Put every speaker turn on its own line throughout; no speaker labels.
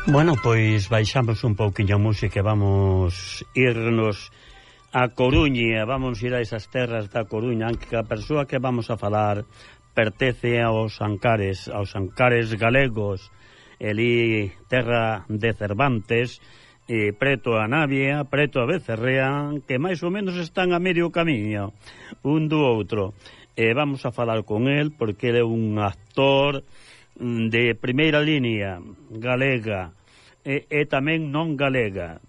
Bueno, pois baixamos un pouquiño a música e vamos irnos a Coruña, vamos ir a esas terras da Coruña, aunque a persoa que vamos a falar pertence aos Ancares galegos, elí terra de Cervantes, preto a Navia, preto a Becerrea, que máis ou menos están a medio camiño un do outro. Vamos a falar con el porque ele é un actor de primeira línea galega e tamén non galega,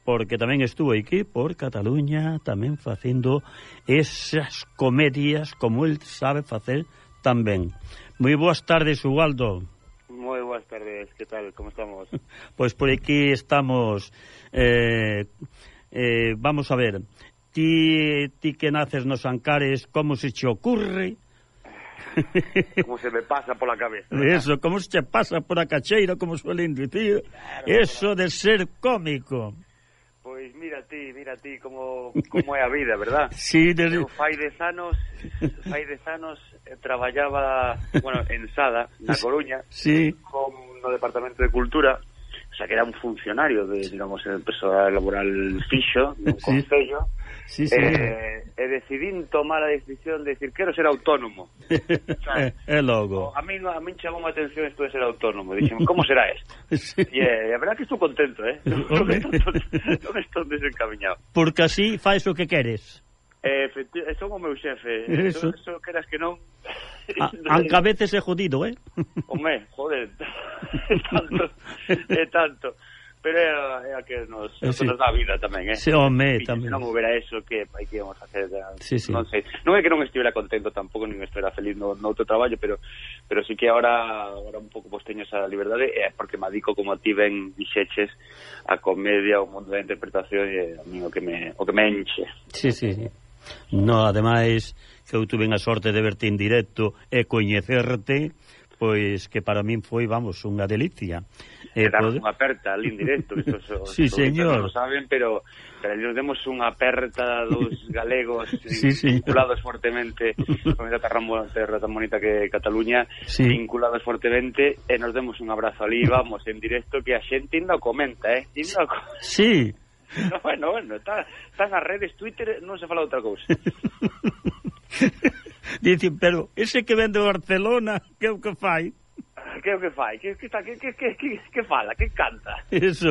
porque tamén estuvo aquí por Cataluña tamén facendo esas comedias como el sabe facer tamén. Moi boas tardes, Ubaldo.
Moi boas tardes, que tal, como estamos?
Pois por aquí estamos. Vamos a ver, ti que naces nos Ancares, como se che ocurre?
Como se me pasa pola cabeza.
Eso, como se che pasa por a cacheira, como suelen dicir, claro, eso de ser cómico.
Pois mira ti como é a vida, verdad?
Sí,
eu fai 10 anos traballaba, bueno, en Sada, na Coruña,
sí,
no Departamento de Cultura, o sea, que era un funcionario de, digamos, el persoal laboral fixo, dun concello.
Sí, sí.
E decidín tomar a decisión de decir, quero ser autónomo.
É logo.
A min chamou a atención isto de ser autónomo. Dixen, como será isto?
Sí.
E a verdad que estou contento, non estou desencaminhado.
Porque así faz o que queres.
Son o meu xefe.
Eso
queras que non.
Aunque a veces é jodido,
Home, joder. É tanto. Pero é a que nos dá a vida tamén,
Sí, home, tamén.
Se non houbera eso, que íamos a hacer?
Sí.
Non sei. Non é que non estivera contento tampouco, nin estivera feliz no outro traballo, pero sí que agora un pouco pois teño esa liberdade, porque me adico, como a ti ben dixeches, a comedia, o mundo da interpretación, e a mí o que me enche.
Sí. No, ademais, que eu tuve a sorte de verte en directo e coñecerte, pois que para min foi, vamos, unha delicia.
Dar unha aperta ali en directo,
sí, señor.
Non lo saben, pero nos demos unha aperta dos galegos
sí.
Vinculados fortemente con esa terra tan bonita que é Cataluña,
sí.
Vinculados fortemente, e nos demos un abrazo ali, vamos, en directo, que a xente ainda o comenta,
Sí.
No, bueno, está nas redes, Twitter, non se fala outra cousa.
Dicen, pero ese que vende Barcelona, que é o que fai?
Que é o que fai? Que fala? Que canta?
Eso.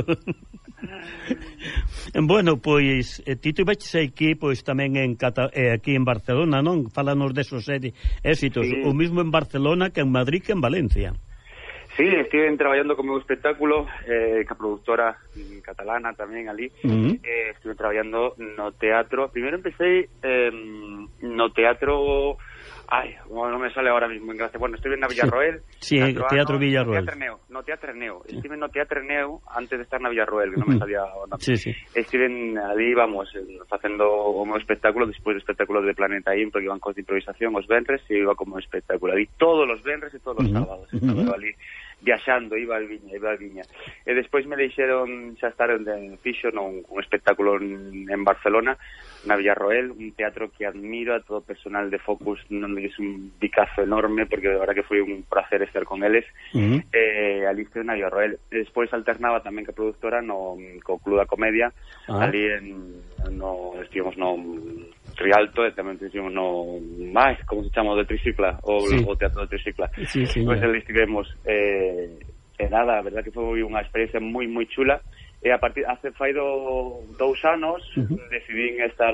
Bueno, pois ti tuveches aquí, pois tamén aquí en Barcelona, non? Fálanos desos éxitos, sí. O mismo en Barcelona que en Madrid que en Valencia.
Sí, estive traballando con meu espectáculo, que a productora catalana tamén ali. Estive traballando no teatro. Primeiro empecé no teatro... non me sale ahora mismo en gracia. Bueno, estive na Villarroel.
Sí, Teatro Villarroel.
No Teatro Neo. Estive no Teatro Neo antes de estar na Villarroel, que non me salía o nome.
Sí.
Estive ali, vamos, facendo o meu espectáculo, despois do espectáculo de Planeta Impro, que iban cos de improvisación os venres, e iba como espectáculo ali todos os venres e todos os sábados. Estaba ali viaxando, iba a Viña. E despois me deixeron xa estar en fixo un espectáculo en Barcelona, na Villarroel, un teatro que admiro a todo o personal de Focus, non me dices un picazo enorme, porque de verdad que foi un placer estar con eles. Ali estive na Villarroel. E despois alternaba tamén que a productora co Club da Comedia, ali estivemos no Rialto, e tamén estivemos no como se chama, de Tricicla, o Teatro de Tricicla. Pois ali estivemos, nada, a verdad que foi unha experiencia moi chula. E a partir fai 2 anos decidín estar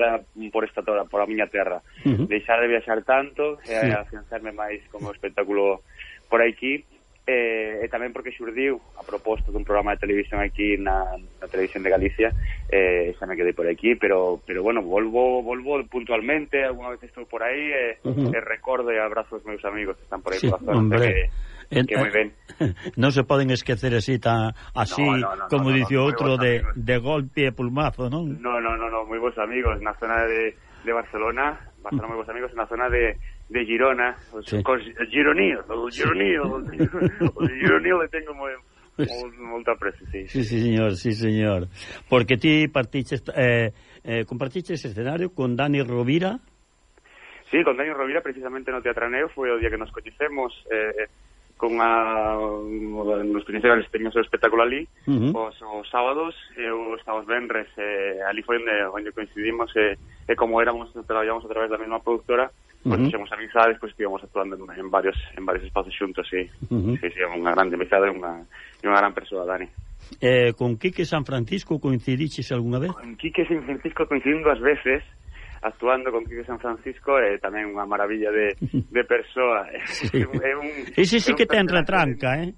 por a miña terra, deixar de viaxar tanto e afianzarme máis como espectáculo por aquí, e tamén porque xurdiu a proposta dun programa de televisión aquí na televisión de Galicia, xa me quedei por aquí, pero bueno, volvo puntualmente, alguna vez estou por aí, e recordo e abrazo aos meus amigos que están por aí por a zona, que moi ben.
Non se poden esquecer así como dice outro de golpe e pulmazo, non?
No, moi bons amigos na zona de Barcelona, moi bons amigos na zona de Girona, os gironíos, o gironío le tengo molta aprecio, sí.
Sí, señor. Porque ti compartiches escenario con Dani Rovira.
Sí, con Dani Rovira, precisamente no Teatro Neo, foi o día que nos coñecemos, nos principales teños o espectáculo ali os sábados e os venres ali foi onde coincidimos e como traballamos a través da mesma productora, pois fixemos amizades, pois estivemos actuando en varios espazos xuntos, sí, unha grande amizade e unha gran persoa, Dani.
Con Quique San Francisco coincidiches algunha vez?
Con Quique San Francisco coincidín 2 veces, actuando con Quique San Francisco, é tamén unha maravilla de persoa.
Sí. Ese sí que ten retranca,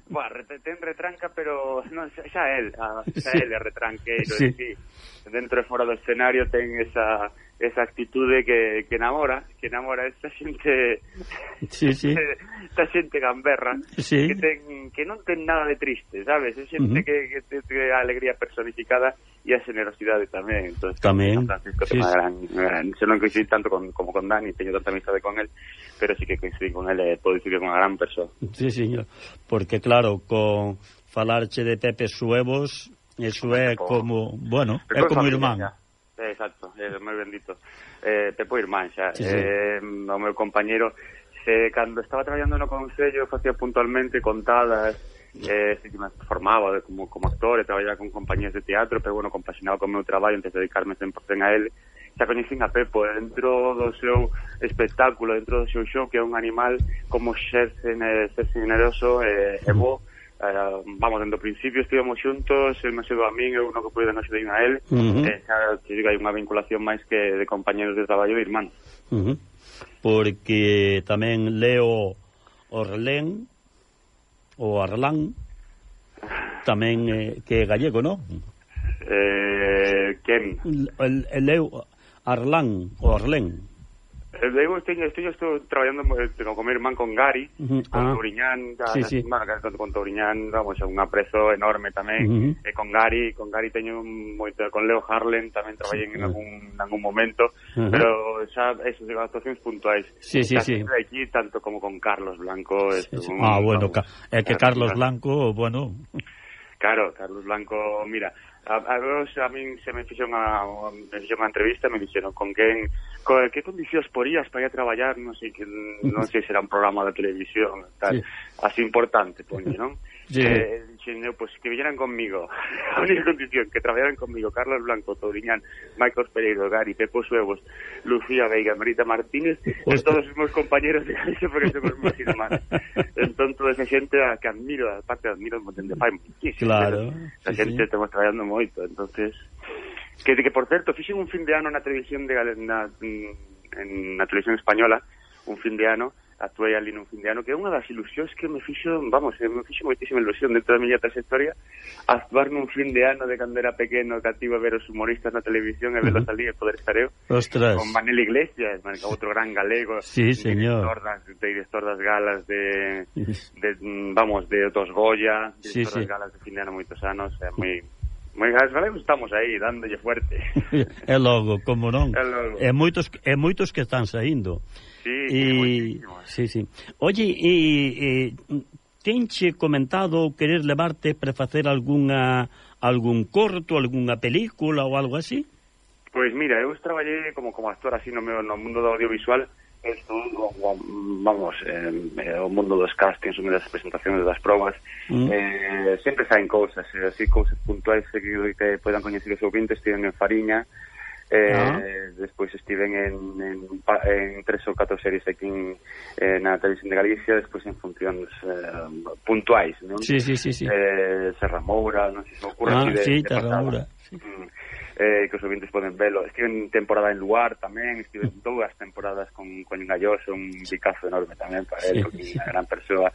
Bueno, ten retranca, pero non, xa él é retranqueiro,
sí.
Sí. Dentro e fora do escenario ten esa actitude que enamora esta xente, esta xente gamberra,
sí.
que non ten nada de triste, sabes? É xente que ten a alegría personificada e a generosidade tamén. Entonces,
tamén.
Francisco ten gran, se non coincidí tanto como con Dani, teño tanta amizade con él, pero sí que coincidí con él e podo dicir que é unha gran persoa.
Sí, señor, porque claro, con falarche de Pepe Suevos, eso é como, bueno, é como irmán.
Exacto, é moi bendito. Pepo irmán xa.
Sí.
O meu compañeiro, cando estaba traballando no Concello, facía puntualmente contadas, que me formaba como actor e traballaba con compañías de teatro, pero bueno, compaxinaba con o meu traballo antes de dedicarme 100% a él. Xa coñecín a Pepo dentro do seu espectáculo, dentro do seu show, que é un animal como ser generoso e bo. Vamos, dentro do principio estivemos xuntos, el me axudou a min, eu no que pude non axudei a él, xa te digo, hai unha vinculación máis que de compañeros de traballo de irmán.
Porque tamén Leo Orlén ou Arlán tamén que é gallego, non?
Quen?
El Leo Arlán ou Orlén.
Eu estou traballando con meu irmán, con Gary, con Touriñán, con Touriñán, vamos, un aprezo enorme tamén, e con Gary teño moito, con Leo Harlen tamén traballei en algún momento, pero xa esas actuacións puntuais.
Sí.
Aquí, tanto como con Carlos Blanco.
Bueno, é que Carlos Blanco, bueno...
Claro, Carlos Blanco, mira, a min se me fixo unha entrevista, me dixeron con que condicións porías para ir a traballar, non sei se será un programa de televisión, tal, así importante, poñe, non? Dixen, pues que viñeran conmigo, a única condición, que traballaran conmigo Carlos Blanco, Touriñán, Marcos Pereiro, Gary, Pepo Suevos, Lucía Veiga, Marita Martínez, e todos os meus compañeros de Galicia, porque somos meus irmáns. Entón, toda esa xente que admiro, aparte admiro, de fai muchísimo.
Claro.
A xente estamos traballando moito, entonces... Que por certo, fixen un fin de ano na televisión na televisión española, un fin de ano, actuei ali nun fin de ano, que é unha das ilusións que me fixo moitísima ilusión dentro da miña trayectoria, actuar nun fin de ano de cando era pequeno, cativo a ver os humoristas na televisión e velos ali e poder estar eu.
Ostras.
Con Manel Iglesias, outro gran galego,
señor.
Director das galas de dos Goya, director das galas de fin de ano moitos anos, é moi galegos estamos aí, dándolle fuerte.
É logo, como non? É moitos que están saindo.
Sí.
Oye, tenche comentado querer levarte para facer algún corto, algunha película ou algo así?
Pois mira, eu traballei como actor así no mundo do audiovisual, vamos, o mundo dos castings, das presentacións, das probas, sempre saen cousas, así cousas puntuais que podan coñecer os ouvintes. Estiven en Fariña, despois estiven en 3 ou 4 series aquí na televisión de Galicia, despois en funcións puntuais, non?
Sí.
Serra Moura, non sei se me ocurre
Serra Moura,
que os ouvintes poden velo. Estive en temporada en Luar tamén, estive en 2 temporadas con Galloso, un bicazo enorme tamén para él, porque é unha gran persoa,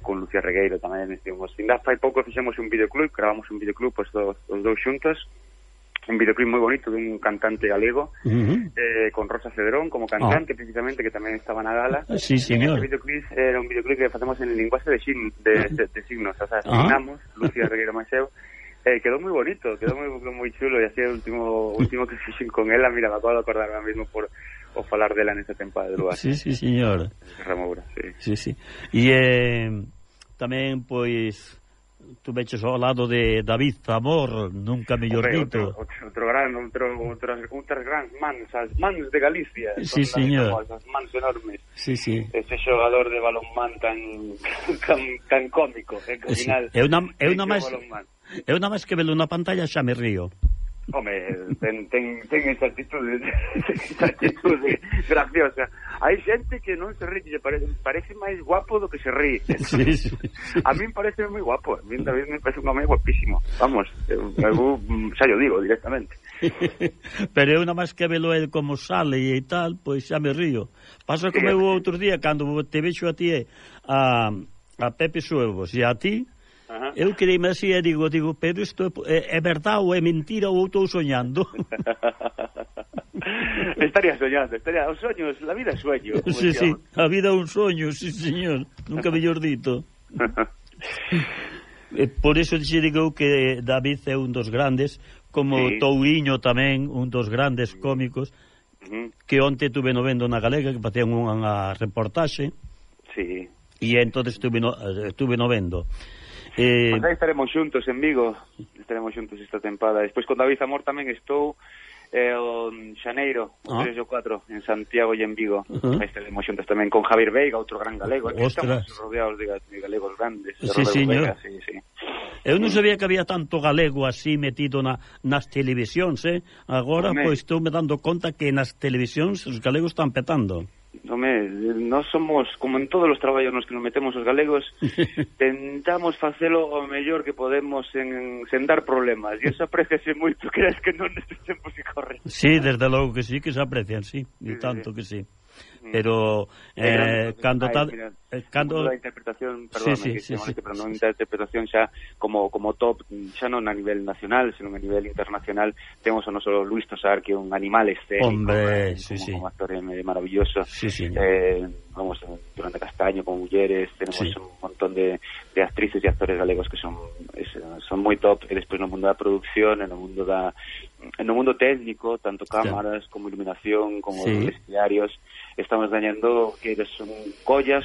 con Lucía Regueiro tamén estivemos. Ainda fai pouco fixemos un videoclub, gravamos un videoclub os dous xuntos, un videoclip moi bonito dun cantante galego, con Rosa Cedrón como cantante, precisamente, que tamén estaba na gala.
Sí, señor.
Este videoclip era un videoclip que facemos en linguaxe de signos, o sea, signamos, Lucía Regueiro máis eu, quedou moi bonito, quedou moi chulo, e así o último que fixen con ela, mira, me acabo de acordar ahora mesmo por falar dela nesa temporada de Luar.
Sí, señor.
Ramoura, sí.
E tamén, pois, tú veches ao lado de David Zamor, nunca mellor dito.
Outras grandes mans, as mans de Galicia.
Sí, señor.
As mans enormes.
Sí, sí.
Ese xogador de balonmán tan cómico, que ao final...
Eu nada máis que velo na pantalla xa me río.
Home, ten esa actitude graciosa. Hai xente que non se ríe, parece máis guapo do que se ríe.
Sí.
A mí me parece moi guapo, a mí David me parece un home guapísimo. Vamos, eu xa yo digo directamente.
Pero eu nada máis que velo el como sale e tal, pois xa me río. Pasa como eu outro día, cando te vexo a ti a Pepe Suevos e a ti, eu creíme así e digo, pero isto é verdade ou é mentira ou estou soñando?
Estaría soñando, os soños, la vida é sueño.
Sí, a vida é un soño, sí, señor, nunca mellor dito. Por eso xe digo que David é un dos grandes, como Touriño tamén, un dos grandes cómicos, que onte tuve no vendo na Galega, que facían unha reportaxe, e entonces tuve no vendo.
Pues aí estaremos xuntos en Vigo, estaremos xuntos esta tempada. Despois con David Zamor tamén estou en xaneiro, o 3 e o 4 en Santiago e en Vigo. Aí estaremos xuntos tamén con Javier Veiga, outro gran galego. Estamos rodeados de galegos grandes.
Sí, señor. Sí. Eu non sabía que había tanto galego así metido nas televisións, agora pois estou me dando conta que nas televisións os galegos están petando.
Home, nós somos, como en todos os traballos nos que nos metemos os galegos, tentamos facelo o mellor que podemos sen dar problemas, e eso apreciase moito, crees que non nestes tempos que corren.
Sí, desde logo que sí, que se aprecian, sí, e tanto que sí. Pero cando
a interpretación, perdóname, pero non a interpretación xa como top, xa non a nivel nacional, senón a nivel internacional, temos o noso Luis Tosar, que é un animal escénico, como actor maravilloso. Vamos, Durante Castaño con mulleres, tenemos un montón de actrices e actores galegos que son moi top, e despois no mundo da producción, no mundo técnico, tanto cámaras como iluminación, como vestiarios, estamos gañando que son collas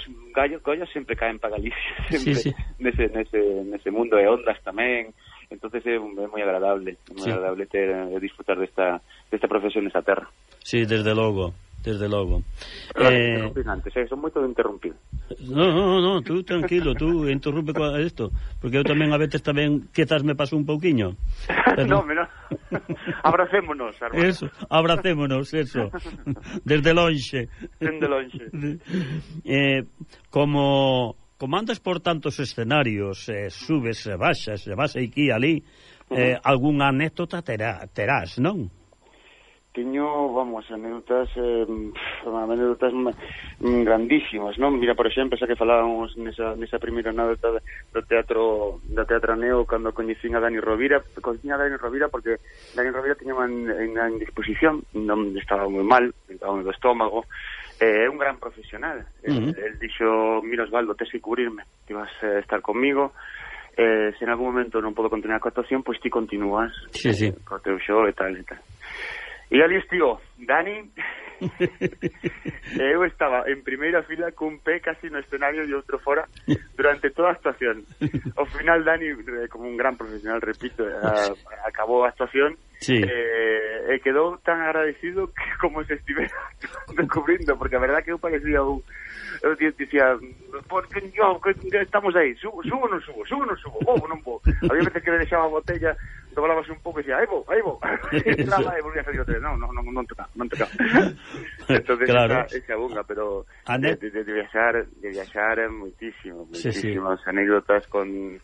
sempre caen para Galicia, sempre nese mundo de ondas tamén. Entonces é moi agradable, disfrutar desta profesión nesta terra.
Sí, desde logo.
Son moito de interrumpir.
No, tú tranquilo, tú interrumpe con isto, porque eu tamén a veces tamén quizás me paso un pouquiño.
No, abracémonos,
eso, eso. Desde lonxe. Como andas por tantos escenarios, subes e baixas, e vas aquí e ali, algunha anécdota terás, non?
Teño, anécdotas grandísimas, non? Mira, por exemplo, xa que falábamos nesa primeira anécdota do teatro Neo, cando coñecín a Dani Rovira, porque Dani Rovira tiña en disposición, non estaba moi mal, estaba do estómago, é un gran profesional. El dixo, mira Osvaldo, tes que cubrirme, que vas a estar comigo, se en algún momento non podo continuar coa actuación, pois ti continúas co teu show e tal. E ali estivo Dani. Eu estaba en primeira fila cun pé casi no escenario e outro fora durante toda a actuación. Ao final Dani, como un gran profesional, repito, acabou a actuación e quedou tan agradecido que como se estivera descubrindo, porque a verdad que eu parecía eu dicía, porque estamos aí, subo ou non subo, vou ou non vou. Había veces que me deixaba a botella, doblábase un pouco e dicía, aí vou, entraba e volvía a salir outra vez, non toca. Entonces esa bunga, pero de viaxar moitísimas anécdotas con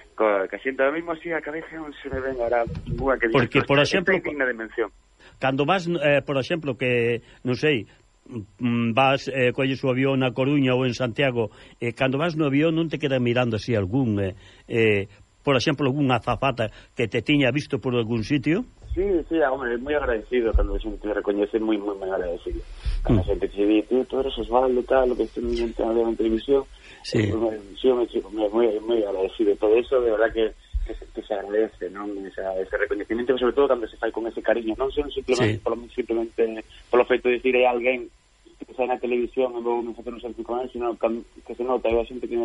que xente ahora mismo así a cabeza non se me ven ahora bunga que
porque, por exemplo,
digna de mención.
Cando vas, por exemplo, que non sei, vas, colles o avión na Coruña ou en Santiago, cando vas no avión non te quedas mirando así algún por exemplo, algunha azafata que te tiña visto por algún sitio?
Sí, hombre, moi agradecido cando a xente me recoñece, moi agradecido. Cando a xente que se di, tú eres Osvaldo, tal, lo que estou en televisión, moi agradecido. Todo eso, de verdad que se agradece, non? Ese recoñecimiento, sobre todo cando se fai con ese cariño, non simplemente polo feito de dicir a alguén que sai na televisión e vou non facer un selfie con él, sino que se nota, hai a xente que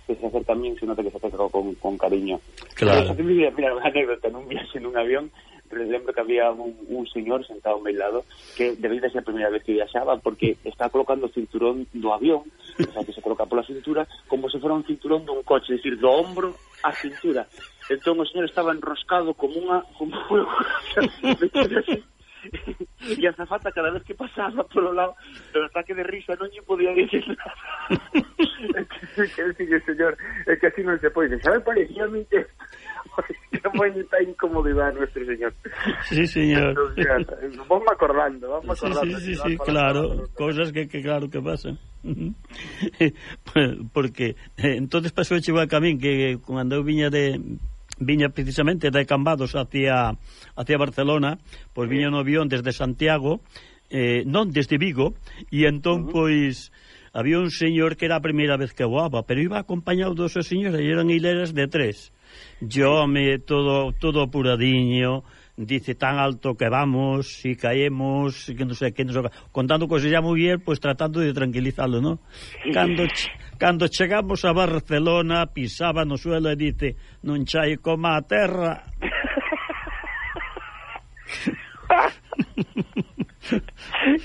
que se acerca a min se nota que se acerca con cariño.
Claro.
Mira, unha anécdota nun viaxe nun avión, pero lembro que había un señor sentado ao meu lado que debía de ser a primeira vez que viaxaba porque está colocando o cinturón do avión, o sea, que se coloca pola cintura como se fora un cinturón dun coche, es decir, do ombro á cintura. Entón o señor estaba enroscado como unha e a azafata cada vez que pasaba polo lado do ataque de risa non lle podía dicir nada. Que decir, señor, é que así non se pode. Sabe, parecía a mí que moi está incomodidade nuestro señor.
Sí, señor.
Vamos acordando.
Sí, claro, cosas que claro que pasan. Porque entonces pasou igual que a min, que cando eu viña precisamente de Cambados hacia Barcelona, pois viña no avión desde Santiago, non desde Vigo, e entón pois había un señor que era a primeira vez que voaba, pero iba acompañado dos señores, e eran hileras de 3. Yo todo apuradiño, dice tan alto que vamos, si caemos, que non sei, contando cosas ya moi bien, pues tratando de tranquilizarlo, ¿no? Cando chegamos a Barcelona, pisaba no suelo e dice, non chai coma a terra.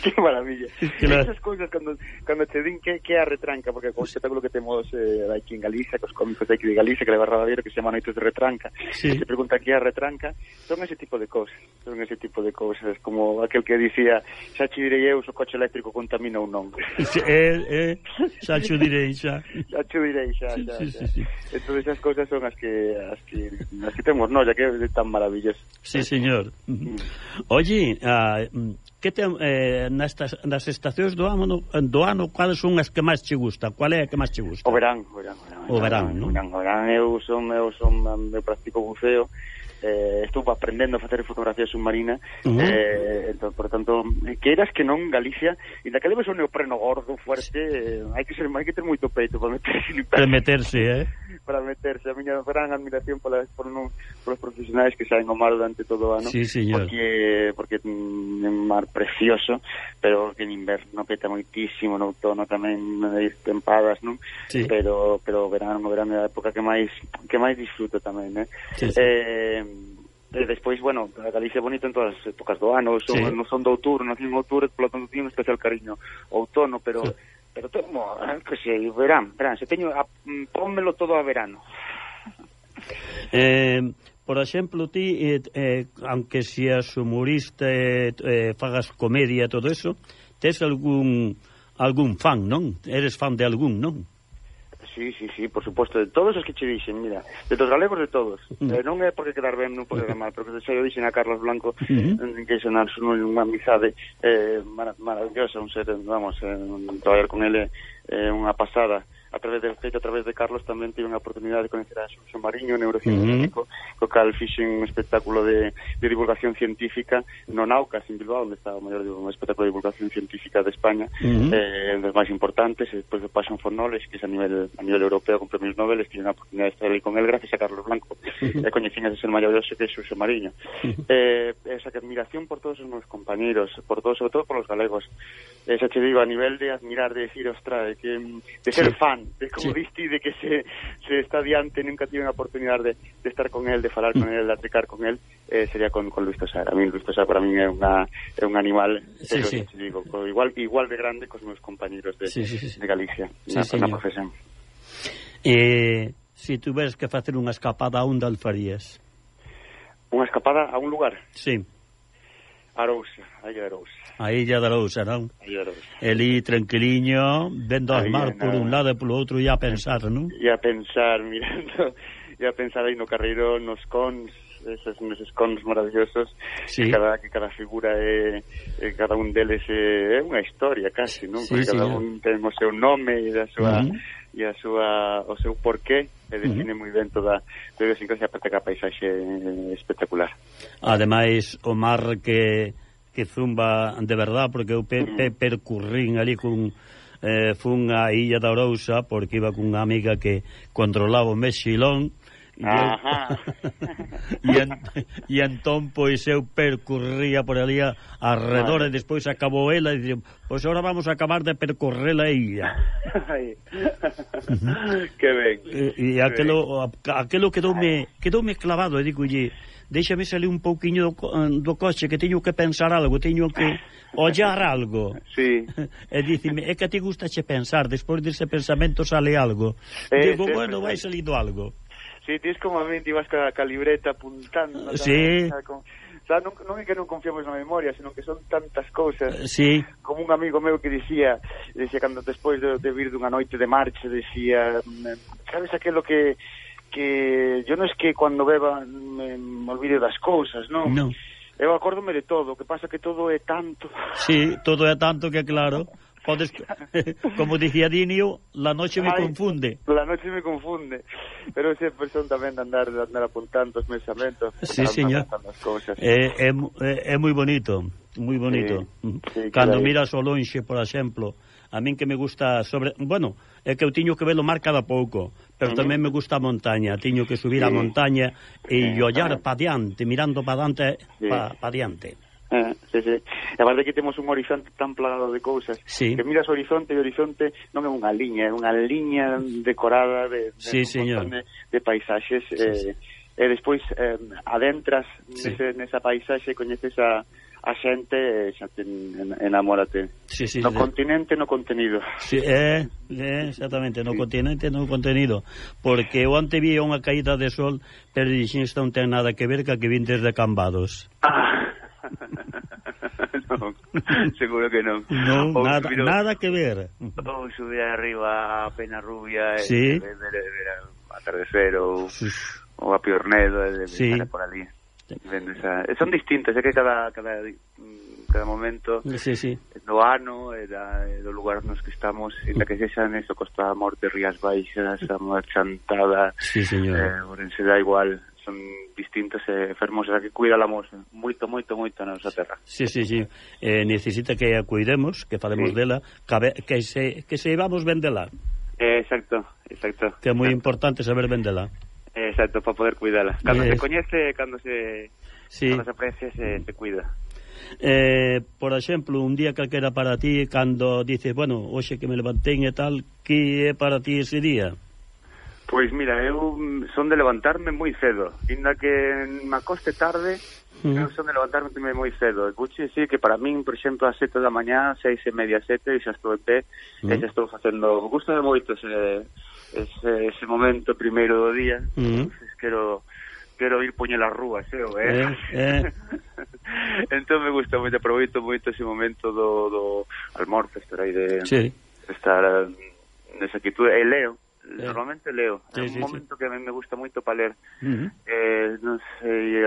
Qué maravilla.
Claro.
Esas cousas cando te din que é a retranca, porque con o espectáculo que temos aquí en Galicia, cos cómicos de aquí de Galicia, que leva Rabadeiro, que se chama Noites de Retranca,
sí.
Se pregunta que é a retranca, son ese tipo de cousas, como aquel que dicía, xa che direi eu se o coche eléctrico contamina ou non.
Xa che direi, xa.
Sí. Entón esas cousas son as que temos, non, ya que é tan maravilloso.
Sí, señor. Oye, que nas estacións do ano, quales son as que máis che gusta? Qual é a que máis che gusta?
O verán,
non?
Eu practico buceo, estou aprendendo a facer fotografía submarina, entón, por tanto, queiras que non, Galicia, e da que debes un neopreno gordo, fuerte, hai que ter moito peito para meterse, para meterse. A miña gran admiración polos profesionais que saen ao mar durante todo o ano,
sí, señor.
Porque é un mar precioso, pero que en inverno peta moitísimo, no outono tamén tempadas, non?
Sí.
Pero o verano é a época que máis disfruto tamén,
Sí.
Despois, bueno, a Galicia é bonita en todas as épocas do ano, non son do outubro, nacín en outubro, polo tanto tiño un especial cariño ao outono, pero tomo, que sei, verán, se teño, pónmelo todo a verano.
Por exemplo, ti, aunque seas humorista, fagas comedia e todo eso, tes algún fan, non? Eres fan de algún, non?
Sí, por suposto, de todos os que che dixen, mira, de todos galegos, de todos. Non é porque quedar ben, non porque quedar mal, pero que xa eu dixen a Carlos Blanco, que son unha amizade maravillosa, un ser, vamos, traballar con ele unha pasada. A través de Carlos tamén tive unha oportunidade de conocer a Xurxo Mariño, neurocientífico, co cal fixen un espectáculo de divulgación científica no Naucas, en Bilbao, onde está o maior espectáculo de divulgación científica de España, dos máis importantes, e despois do Passion for Knowledge, que é a nivel europeo con premios Nobel, tive unha oportunidade de estar aí con el gracias a Carlos Blanco, e coñecín ese ser maravilloso que é Xurxo Mariño. Esa admiración por todos os meus compañeros, sobre todo por os galegos, esa che digo, a nivel de admirar, de decir, ostra, de ser fan, de como diste, de que se está diante, nunca tive unha oportunidade de estar con el, de falar con el, de aplicar con el, sería con Luis Tosar. A mí Luis Tosar para mí é un animal, digo, igual de grande cos meus compañeros de Galicia, na profesión.
Se tuveres que facer unha escapada, a onde farías?
Unha escapada a un lugar?
Sí.
Arousa.
A Illa de Arousa, non? Elí tranquiliño, vendo as mar por un lado e polo outro, e a pensar, non?
E a pensar, mirando, e a pensar aí no Carreiro, nos cons, esos cons maravillosos, que cada figura cada un deles é unha historia casi, non? Porque cada un ten o seu nome e o seu porqué, e define moi ben toda a idiosincrasia, aparte que a paisaxe espectacular.
Ademais, o mar que zumba de verdad, porque eu percurrín ali fun a Illa de Arousa porque iba cunha amiga que controlaba o Mexilón, E entón, pois, eu percorría por ali arredor, e despois acabou ela, e dixen, pois agora vamos a acabar de percorrer a illa.
Que ben.
E aquelo quedoume clavado, e digolle, déxame salir un pouquiño do coche, que teño que pensar algo, teño que ollar algo.
Sí.
E dicime, é que a ti gustache pensar, despois dese pensamento sale algo. Digo, bueno, vai salindo algo.
Sí, tens como a mente, ibas ca libreta apuntando.
Sí.
O sea, non é que non confiamos na memoria, senón que son tantas cousas.
Sí.
Como un amigo meu que dicía cando despois de vir dunha noite de marcha, decía, sabes aquilo que yo non es que cando beba me olvide das cousas, non?
Non.
Eu acórdome de todo, o que pasa que todo é tanto.
Sí, todo é tanto que claro, podes, como dicía Dinio, la noche me confunde.
La noche me confunde. Pero sempre son tamén de andar apuntando os pensamentos.
Sí, señor. É moi bonito, moi bonito.
Sí,
cando miras o lonxe, por exemplo, a min que me gusta bueno, é que eu tiño que ver o mar cada pouco, pero tamén me gusta a montaña, tiño que subir a montaña e ollar pa diante, mirando pa diante, pa diante.
Sí. E a verdade que temos un horizonte tan plagado de cousas, que miras o horizonte, e o horizonte non é unha liña decorada de un montón de paisaxes, e despois adentras nesa paisaxe, coñeces a xente, xa te enamórate. No continente, no contenido.
Sí, exactamente, no continente, no contenido. Porque eu onte vi unha caída de sol, pero dixen, isto non ten nada que ver ca que vin desde Cambados.
Non, seguro que non.
Non, nada que ver.
Ou subir arriba a Penarrubia, ver atardecer, ou a Piornedo, por ali. Son distintas, é que cada momento do ano e do lugar nos que estamos, e que sexan eso, Costa da Morte, Rías Baixas, a Chantada, Ourense, da igual, son distintas e fermosas, que cuidalamos moito na nosa terra. Sí,
necesita que a cuidemos, que falemos dela, que se vamos ben dela.
Exacto.
Que é moi importante saber ben dela.
Exacto, para poder cuidala. Cando se coñece, cando se aprecia, se cuida.
Por exemplo, un día calquera para ti, cando dices, bueno, hoxe que me levantei e tal, que é para ti ese día?
Pois mira, eu son de levantarme moi cedo, inda que me acoste tarde, eu son de levantarme moi cedo. Vouche dicir que para min, por exemplo, a 7 da mañá, 6:30, 7, xa estou en pé, e xa estou facendo, gusta de moito ese momento primeiro do día. Quero ir poñer as rúas, entón me gusta moito, aproveito moito ese momento do almorzo, estar aí estar nesa quietud, e leo. Normalmente leo, é un momento que me gusta moito para ler. Non sei,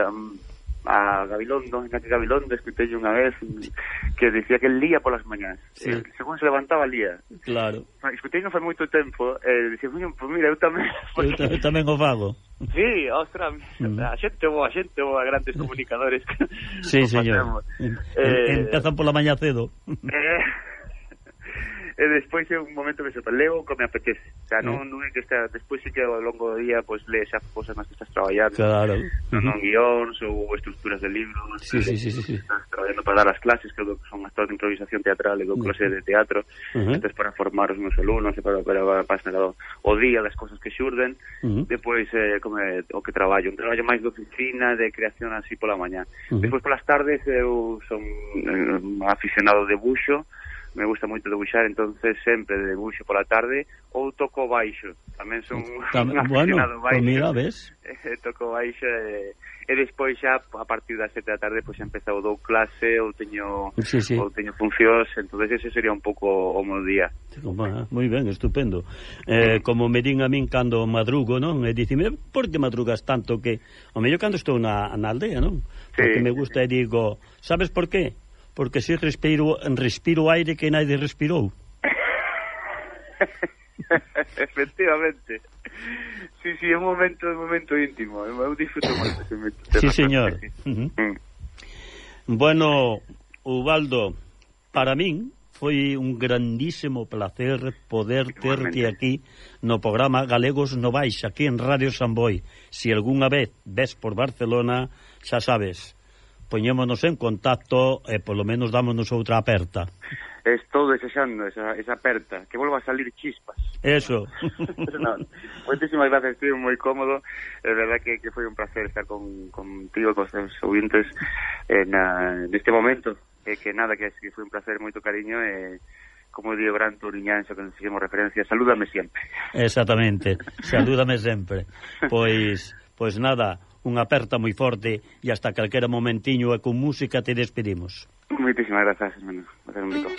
a Gabilondo, escutei unha vez que dicía que lía polas mañás, según se levantaba lía.
Claro.
Escutei non fai moito tempo, dicía, pues mira, eu tamén
eu tamén o fago.
Sí, ostras, a xente boa, grandes comunicadores.
Sí, señor. Empezan pola mañá cedo.
E despois é un momento que se leo como me apetece, o sea, non é que está, despois sí que ao longo do día pois lees as cousas nas que estás traballando, non guións ou estructuras de libros, estás traballando para dar as clases, que son actores de improvisación teatral e dou clase de teatro, entón para formar os meus alumnos e para o día das cousas que xurden. Depois como o que traballo, un traballo máis de oficina, de creación así pola mañá. Despois polas tardes eu son aficionado de buxo, me gusta moito debuxar, entonces sempre debuxo pola tarde, ou toco baixo, tamén son un aficionado baixo.
Mira, ves?
Toco baixo e despois xa a partir das 7 da tarde pois xa empezou, dou clase ou teño funcións, entonces ese sería un pouco o meu día.
Moi ben, estupendo. Como me din a min cando madrugo, non? E dicime, por que madrugas tanto? Que o mellor cando estou na aldea, non? Porque me gusta e digo, sabes por qué? Porque se respiro aire que nadie respirou.
Efectivamente. Sí, é un momento íntimo. Eu disfruto moito ese momento.
Sí, señor. Bueno, Ubaldo, para min foi un grandísimo placer poder terte aquí no programa Galegos no Baixa, aquí en Radio Samboy. Si algunha vez ves por Barcelona, xa sabes, poñémonos en contacto e polo menos dámonos outra aperta.
Estou desexando esa aperta, que volva a salir chispas.
Eso.
No, moitísimas gracias, estuve moi cómodo. É verdad que foi un placer estar contigo, con os teus ouvintes neste momento. Que nada, que foi un placer, moito cariño e, como digo, gran turiñanxo, que nos fixemos referencia, salúdame sempre.
Exactamente, salúdame sempre. Pois nada, unha aperta moi forte e hasta calquera momentiño e con música te despedimos.
Moitísimas grazas, hermano. Un bico.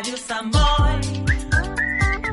Radio Samboy.